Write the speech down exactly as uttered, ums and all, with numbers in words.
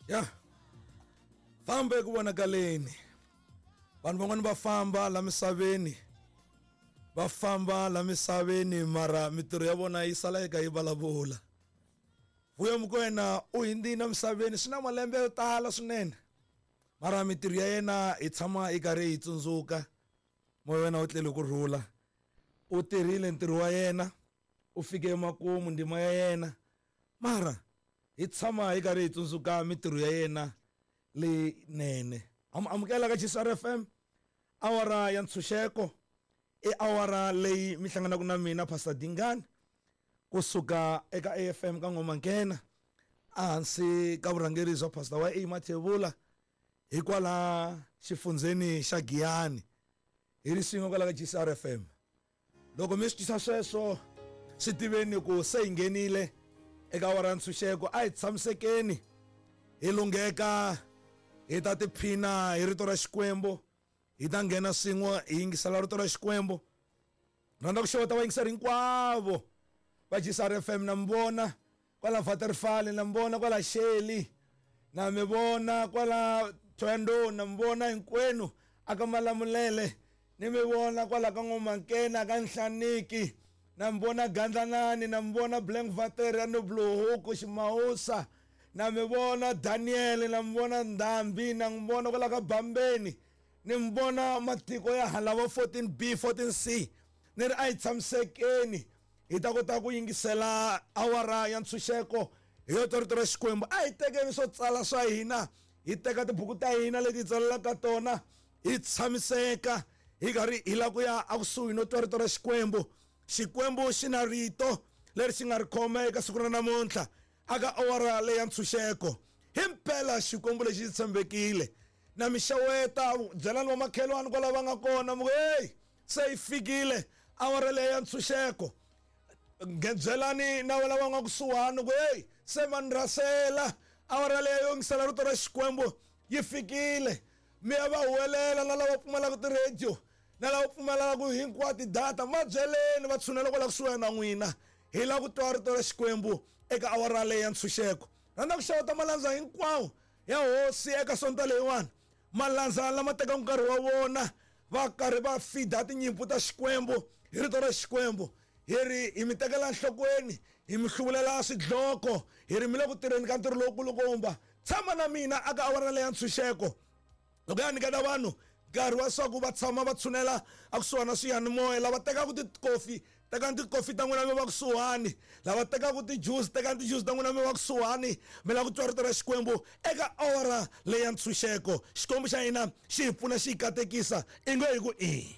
Ya famba eku vonakaleni. Vanhu van'wani va famba la misaveni, va famba la misaveni, mara mitirho ya vona yi sala yi ka yi vulavula. Vuyo Mokoena u hundzile emisaveni swi na malembe yo tala swinene, mara mitirho ya yena hi tshama yi karhi hi tsundzuka. Moya wa yena wu tlele ku rhula. U tirhile ntirho wa yena, u fike emakumu ndima ya yena, mara hi tshama hi karhi hi tsundzuka mitirho ya yena leyinene. Amukela ka G C R F M, awara ya ntshunxeko i awara leyi mi hlanganaka na mina Pastor Dingani kusuka eka A F M ka Ngoma-Nkena, ehansi ka vurhangeri bya Pastor wa A Mathebula hikwala xifundzheni xa Giyani. Hi ri swin'we kwala ka G C R F M. Loko mi swi twisa sweswo, swi tiveni ku se hi nghenile eka awara ya ntshunxeko. A hi tshamisekeni, hi lungheka, hi ta tiphina hi rito ra Xikwembu, hi ta nghena swin'we hi yingisela rito ra Xikwembu. Rhandza ku xeweta vayingiseri hinkwavo va G C R F M. Na mi vona kwala Waterfall, na mi vona kwala Shelly, na mi vona kwala Thohoyandou, na mi vona hinkwenu aka Malamulele, ni mi vona kwala ka Ngoma-Nkena, ka Nhlaniki, na mi vona Gandlanani, na mi vona Blankwater ya Noblohuku Ximawusa, na mi vona Daniel, na mi vona Ndhambi, na mi vona kwala ka Bambeni, ni mi vona matiko ya hala fourteen B, fourteen C. Ni ri a hi tshamisekeni, hi ta kota ku yingisela awara ya ntshunxeko hi yo twa rito ra Xikwembu. A hi tekeni swo tsala swa hina, hi teka tibuku ta hina leti hi tsalelaka tona, hi tshamiseka hi karhi hi lava ku ya ekusuhi no twa rito ra Xikwembu. Xikwembu xi na rito leri xi nga ri khoma eka siku ra namuntlha aka awara leyi ya ntshunxeko. Himpela Xikwembu lexi xi tshembekile. Na mi xeweta, byelani vamakhelwani kwala va nga kona, mi ku hey, se yi fikile awara leyi ya ntshunxeko. Byelani na lava va nga kusuhani ku hey, se va ni rhasela, awara leyi yo yingisela rito ra Xikwembu yi fikile. Mi ya va huwelela na lava pfumalaka ti-radio, na lava pfumalaka hinkwato data, va byeleni va tshunela kwala kusuhi na n'wina. Hi lava ku twa rito ra Xikwembu eka awara leyi ya ntshunxeko. Rhandza ku xeweta malandza hinkwawo ya hosi eka sonto leyiwani, malandza lama tekaka nkarhi wa vona va karhi va feeda tinyimpfu ta Xikwembu hi rito ra Xikwembu. Hi ri hi mi tekela enhlokweni, hi mi hluvulela swidloko, hi ri mi le ku tirheni ka ntirho lowukulukumba. Tshama na mina aka awara leyi ya ntshunxeko. Loko ya nyiketa vanhu nkarhi wa swa ku va tshama va tshunela ekusuhani na swiyanimoya, lava tekaka tikofi, tekani tikofi ta n'wina mi va kusuhani, lava tekaka ti-juice, tekani ti-juice ta n'wina mi va kusuhani, mi lava ku twa rito ra Xikwembu eka awara leyi ya ntshunxeko. Xikwembu xa hina xi hi pfuna, xi hi katekisa, i nge hi ku i.